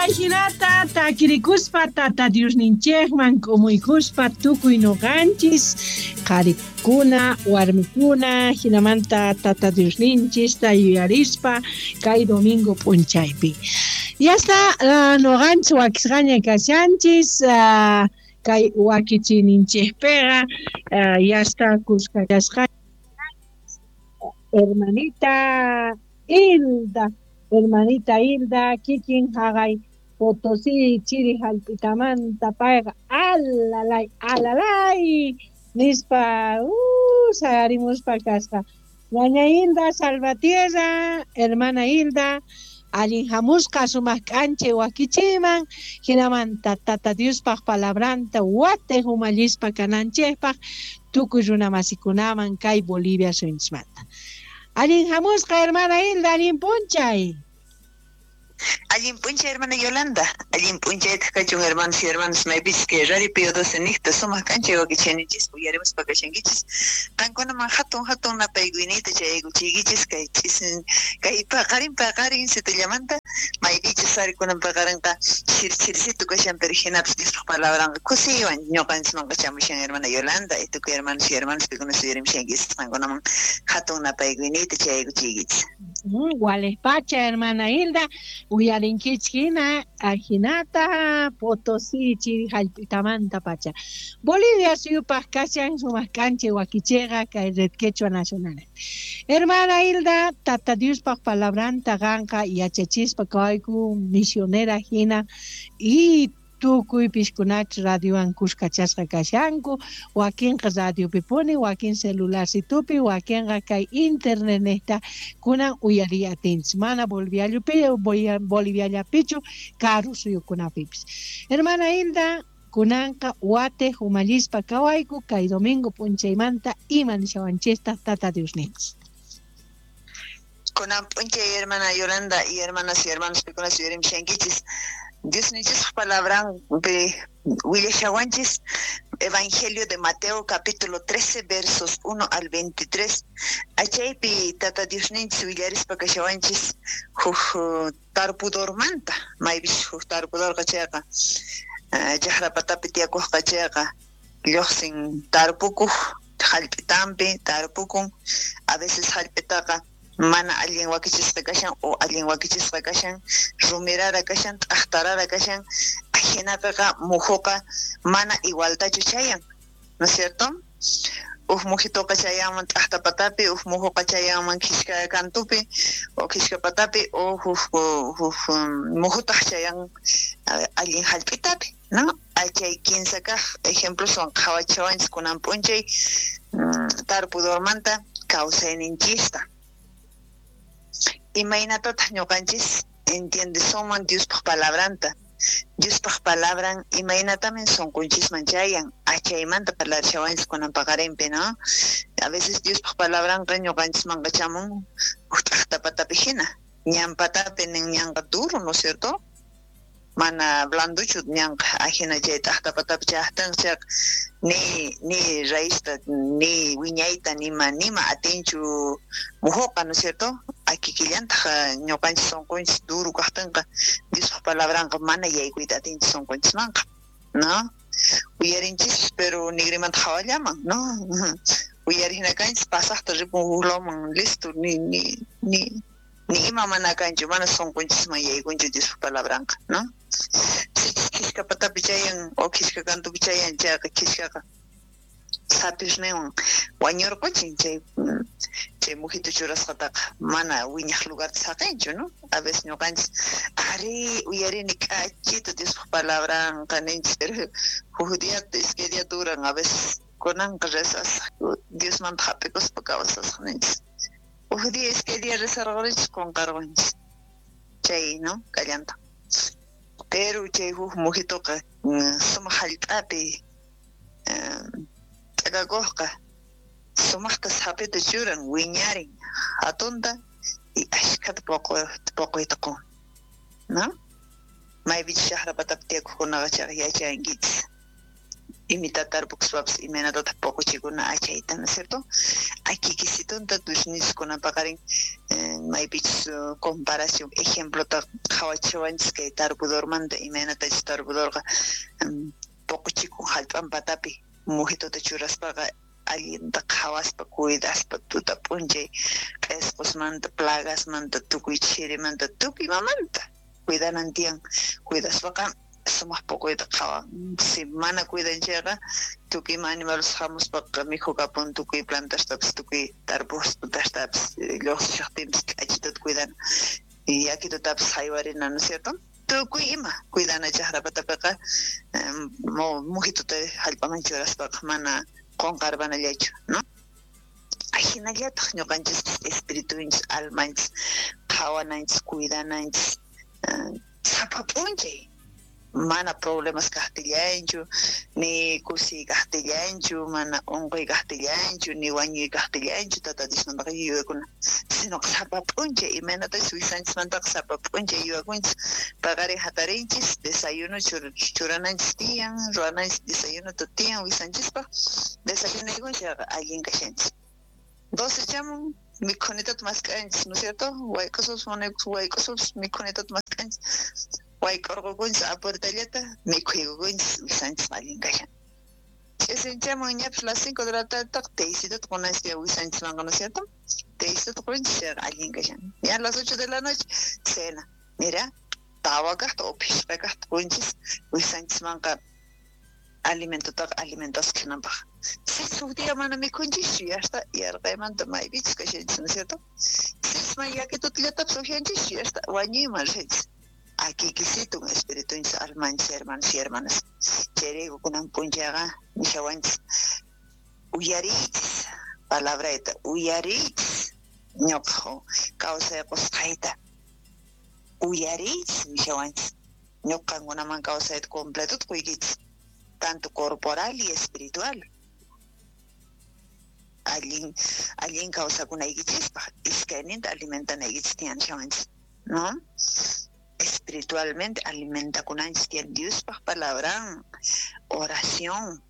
Ajinata takirikuspa Tata Diosninchejman k'umuykuspa tukuy noqanchis qharikuna, warmikuna, jinamanta Tata Diosninchista yuyarispa kay domingo p'unchaypi. Ya está, noqanchis wakisqaña kashanchis, kay wakichiyninchejpiqa ya está kuska kasqa hermanita Hilda, hermanita Hilda, kikin jaqay Potosí chiri jallp'itamanta payqa alalay, alalay nispa sayarimuspa kasqa. Ñaña Hilda Salvatierra, hermana Hilda, allin jamusqa sumaq k'anchay wakichiyman, jinamanta Tata Diospaj palabranta watej umallispa kananchejpaj tukuy runa masikunaman kay Bolivia suyunchismanta. Allin jamusqa hermana Hilda, allin p'unchay. Allin p'unchay hermana Yolanda, allin p'unchaytaj kachun hermanos y hermanas maypichis kay Radio Pío 12 niqta sumaq k'anchay wakichiyninchis uyarimuspa kashankichis. Qankunaman hatun hatun napaykuyniyta chayaykuchiykichis kay ch'isin kay paqarin paqarin situllamanta maypichus ari kunan paqarinqa chirchirsitu kashan, pero jinapis Diospaj palabranqa kusiywan ñuqanchismanqa chamushan hermana Yolanda y tukuy hermanos y hermanas pikuna suyarimushankichis qankunaman hatun napaykuyniyta chayaykuchiykichis. Walej pacha hermana Hilda, uyarinkichis hina ajinata Potosí chiri jallp'itamanta pacha. Bolivia suyupaj kashan sumaq k'anchay wakichiyqa kay Red Quechua Nacional. Hermana Hilda, Tata Diospaj palabranta qanqa yachachispa kawayku misionera hina y tukuy piskunach radiowan kuskachasqa kashanku, wakinqa radiopipuni, wakin celularcitupi, wakinqa kay internetnejta kunan uyariy atinchis, mana Boliviallapichu, karu suyukunapipis. Hermana Hilda, kunanqa watej umallispa kawayku kay domingo p'unchaymanta ima nishawanchista Tata Diosninchis. Kunan p'unchay hermana Yolanda y hermanas y hermanos pikuna suyarimushankichis. Diosninchispa palabranpi willashawanchis Evangelio de Mateo capítulo 13 versos 1 al 23. Achaypi Tata Diosninchis willarispa kashawanchis huk tarpudormanta, maypis huk tarpudorqa chayqa, chaqrapatapi tiyakuqqa chayqa lluqsin tarpukuq jallp'itampi tarpukun, a veces jallp'itaqa mana allin wakichisqa kashan o allin wakichisqa kashan, rumirara kashan, t'aqtarara kashan, ajinapiqa mujuqa mana igualtachu chayan, ¿no es cierto? Uj mujitoqa chayanman t'aqta patapi, uj mujuqa chayanman khishka kantupi o khishka patapi, o huk mujutaq chayan allin jallp'itapi, ¿no? Chay kinsa kaq ejemploswan qhawachiwanchis kunan p'unchay tarpudormanta kawsayninchista. Imaynatataq ñuqanchis entiendesunman Diospaj palabranta? Diospaj palabran imaynatamin sunqunchisman chayan, achaymanta parlarishawanchis kunan paqarinpi, ¿no? A veces Diospaj palabranqa ñuqanchismanqa chamun huk t'aqta patapi hina, ñan patapi nin ñanqa duro, ¿no es cierto? Mana blanduchu ñanqa, ajina chay t'aqta patapi chayaqtinqa chayqa ni raízta, ni wiñayta, nima atinchu mujuqa, ¿no es cierto? Akikillantaq ñuqanchis sunqunchis duro kaqtinqa Diospaj palabranqa mana yaykuyta atinchu sunqunchismanqa, ¿no? Uyarinchis, pero nigrimanta hawallaman, ¿no? Uyarihina kanchis, pasaqta ripun huk lawman, listo, ni ima mana kanchu, mana sunqunchisman yaykunchu Diospaj palabranqa, ¿no? Sichus khishka patapi chayan o khishka kantupi chayan chayqa khishkaqa sapisninwan wañurquchin chay mujito churasqataqa mana wiñaq lugarta saqinchu, ¿no? A veces ñuqanchis ari uyarini k'achito Diospaj palabranqa ninchis, pero huk día iskay día duran, a veces kunanqa rezasaq Diosmanta hap'ikuspa kawsasaq ninchis. Huk día iskay día rezarqunchis qunqarqunchis chay, ¿no? Kallanta. Pero chay huk mujitoqa sumaq jallp'api t'akakuqqa sumaqta sapita churan, wiñarin hatunta y ashkhata poqoyta qun, ¿no? Maypichus chaqra patapi tiyakuqkunaqa chayqa yachankichis. Imita tarpukuspapis imaynatataq poqochikuna achayta, ¿no es cierto? Akikisitunta tusniskunan paqarin maypichus comparación ejemplota qhawachiwanchis kay tarpudormanta imaynatachus tarpudorqa poqochikun hallp'an patapi mujituta churaspaqa allinta qhawaspa cuidaspa tuta p'unchay q'esqosmanta plagasmanta tukuy chirimanta tukuy imamanta cuidanan tiyan cuidaspaqa sumaq poqoyta qhawan si mana cuidan chayqa tukuy ima animales hamuspaqa mikhukapun tukuy plantastapis tukuy tarpustapis lluqsishaqtinpis k'achituta cuidana yakitutapis haywarina, ¿no es cierto? Tukuy ima cuidana chaqra patapiqa mujituta hallp'aman churaspaqa mana qonqarpanallachu, ¿no? Ajinallataq ñuqanchispis espiritunchis almanchis qhawananchis cuidananchis sapa p'unchay mana problemas kaqtillanchu ni kusiy kaqtillanchu mana unquy kaqtillanchu ni wañuy kaqtillanchu Tata Diosmantaqa yuyakuna sino sapa p'unchay imaynatachus wisanchismantaqa sapa p'unchay yuyakunchis paqarin hatarinchis desayuno churananchis tiyan ruwananchis desayunota tiyan wisanchispaq desayunaykunchis allin kashanchis 12 chamun mikhunitata mask'anchis, ¿no es cierto? Wayk'usupis wayk'usupis mikhunitata mask'anchis wayk'urqukunchis apurtallata mikhuykukunchis wisanchis allin kashan ch'isinchaman ñapis las 5 de la tarde teycitata qunanchis tiyan wisanchismanqa, ¿no es cierto? Teycitata qunchis chayqa allin kashan ya las 8 de la noche cena mira tawa kaqta o phishqa kaqta qunchis wisanchismanqa alimentotaqa alimentasqa kananpaq sichus huk día mana mikhunchischu yasta yarqaymanta maypichus kashanchis, ¿no es cierto? Sichus mana yakitutallatapis upyanchischu yasta wañuyman rishanchis akikisitun espiritunchis almanchis hermanos y hermanas chayrayku kunan p'unchayqa nishawanchis uyariychis palabrayta uyariychis ñuqa kawsay qusqayta uyariychis nishawanchis ñuqa qankunaman kawsayta completota quykichis tanto corporal y espiritual allin allin kawsakunaykichispaq iskayninta alimentanaykichis tiyan nishawanchis, ¿no? Espiritualmente alimentakunanchis tiyan Diospaq palabran oración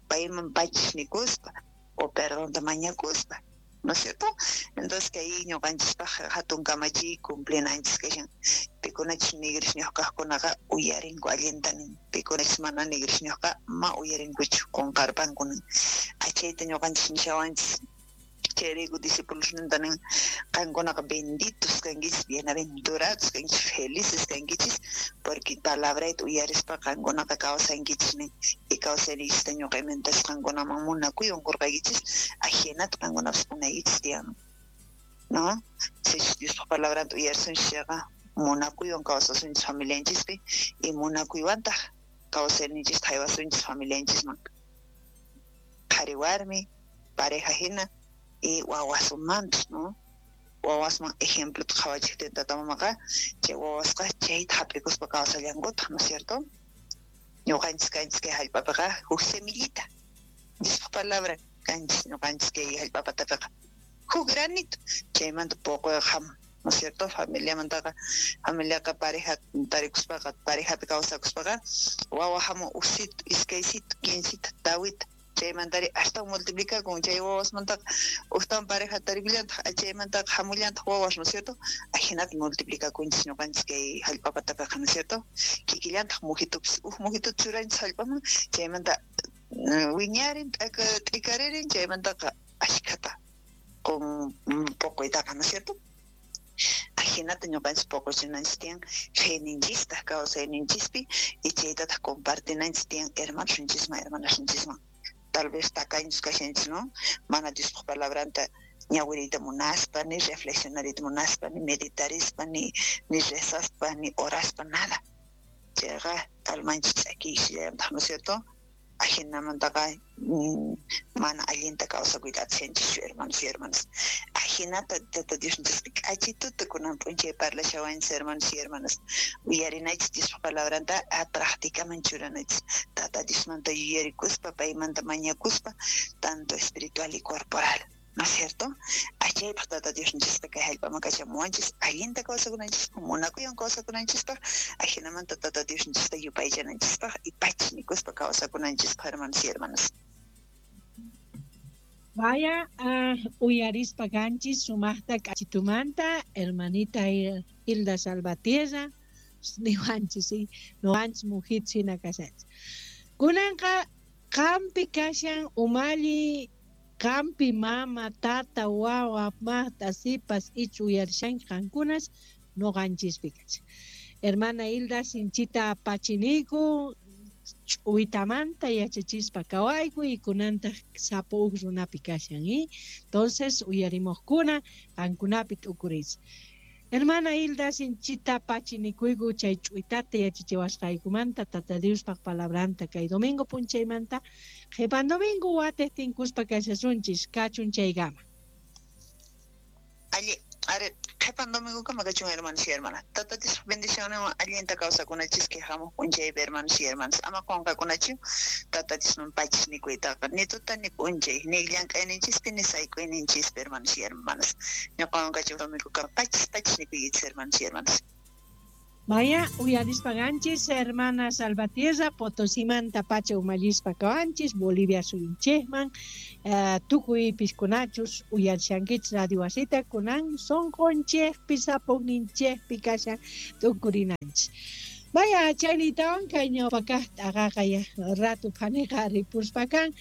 payman pachis nikuspa o perdonta mañakuspa, ¿no es cierto? Entonces kay ñuqanchispaq hatun kamachiy cumplinanchis kashan pikunachus nigrisniyuq kaqkunaqa uyarinku allinta nin pikunachus mana nigrisniyuqqa ma uyarinkuchu qunqarpanku nin achayta ñuqanchis nishawanchis chayrayku discipulosninta nin qankunaqa benditos kankichis bienaventurados kankichis felices kankichis porque palabrayta uyarispa qankunaqa kawsankichis nin y kawsayniykichista ñuqa imaynatachus qankunaman munakuywan qurqaykichis ajinata qankunapis qunaykichis tiyan, ¿no? Sichus Diospaq palabranta uyarisunchis chayqa munakuywan kawsasunchis familianchispi y munakuywantaq kawsayninchista haywasunchis familianchisman qhari warmi pareja hina y wawasmanpis, ¿no? Wawasman ejemplota qhawachiqtin tata mamaqa chay wawasqa chayta hap'ikuspa kawsallankutaq, ¿no es cierto? Ñuqanchis kanchis kay hallp'apiqa huk semillita Diospaq palabra kanchis ñuqanchis kay hallp'a patapiqa huk granito chaymanta poqoyqa hamun, ¿no es cierto? Familiamantaqa familiaqa pareja tarikuspaqa parejapi kawsakuspaqa wawa hamun uksito iskaysito kinsita tawita chaymantari astawan multiplicakun chay wawasmantaqa ujtawan pareja tarikullantaq chaymantaqa hamullantaq wawas, ¿no es cierto? Ajinata multiplicakunchis ñuqanchis kay hallp'a patapiqa, ¿no es cierto? Kikillantaq mujitupis uj mujituta churanchis hallp'aman chaymanta wiñarin t'ikaririn chaymantaqa ashkhata qun poqoytaqa, ¿no es cierto? Ajinata ñuqanchis poqochinanchis tiyan feninchista kawsayninchispi y chaytataq compartinanchis tiyan hermanosninchisman hermanasninchisman tal vez tacaños kashanchis, ¿no? Mana Diospaq palabranta ñawiriyta munaspa ni reflexionariyta munaspa ni meditarispa ni rezaspa ni oraspa nada chayqa almanchis ch'akiysillayantaq, ¿no es cierto? Ajinamantaqa mana allinta kawsakuyta atisanchischu hermanos y hermanas ajinata Tata Diosninchispi k'achituta kunan p'unchay parlashawanchis hermanos y hermanas uyarinaychis Diospaq palabranta practicaman churanaychis Tata Diosmanta yuyarikuspa paymanta mañakuspa tanto espiritual y corporal. ¿No es cierto? Achaypaq Tata Diosninchisqa kay hallp'aman kachamuwanchis allinta kawsakunanchispaq, munakuywan kawsakunanchispaq, ajinamanta Tata Diosninchista yupaychananchispaq y pachi nikuspa kawsakunanchispaq, hermanos y hermanas. Vaya uyarispa kanchis sumaqta k'achitumanta hermanita Hilda Salvatierra niwanchis, sí, noqanchis mujit hina kashanchis. Kunanqa qampi kashan umalli, qampi mama, tata, wawa, maqta, sipas, ichu uyarishanki qankunas noqanchispi kashan. Hermana Hilda sinchita pachiniku, ch'uwitamanta yachachispa kawayku y kunantaq sapo uj runapi kashan, ¿eh? Entonces uyarimuqkuna qankunapi t'ukuriychis. Hermana Hilda sinchita pachinikuyku chay ch'uwitata yachachiwasqaykumanta Tata Diospaq palabranta kay domingo p'unchaymanta qhipan domingo watej tinkuspa kashasunchis kachun chaykama. Alli, ari, qhipan domingokama kachun hermanos y hermanas. Tata Diospaq bendicionninwan allinta kawsakunachis kay hamuq p'unchaypi hermanos y hermanas. Ama qunqakunachu Tata Diosman pachis nikuytaqa, ni tuta ni p'unchay, ni llank'ayninchispi ni sayk'uyninchispi hermanos y hermanas. Ñuqawan kachun domingokama pachis pachis nikuykichis hermanos y hermanas. Vaya, uyarispa ganchis, hermana Salvatierra, Potosimanta pacha umallispa kawanchis, Bolivia suyunchikman, tukuy piskunachus uyarishankichis radio wasita, kunan sonqonchikpi, sapogninchikpi kashan tukurinanchis. Vaya, chaynitawan kay ñawpakaq t'aqaqa ya ratu phaniqa ripuspa kan,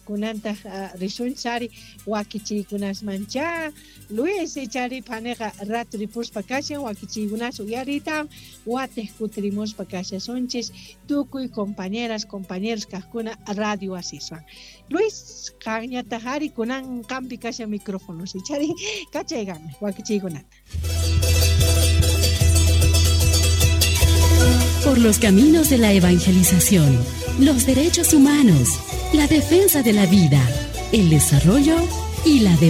kunantaq risunchari wakichiykunasmancha, Luis chari phaniqa ratu ripuspa kashan wakichiykunas uyariytawan watej kutirimuspa kashasunchis tukuy compañeras, compañeros kaqkuna radio wasiswan. Luis, qanñataq ari kunan qampi kashan micrófono, chari kachaygami wakichiykunata. Por los caminos de la evangelización, los derechos humanos, la defensa de la vida, el desarrollo y la democracia.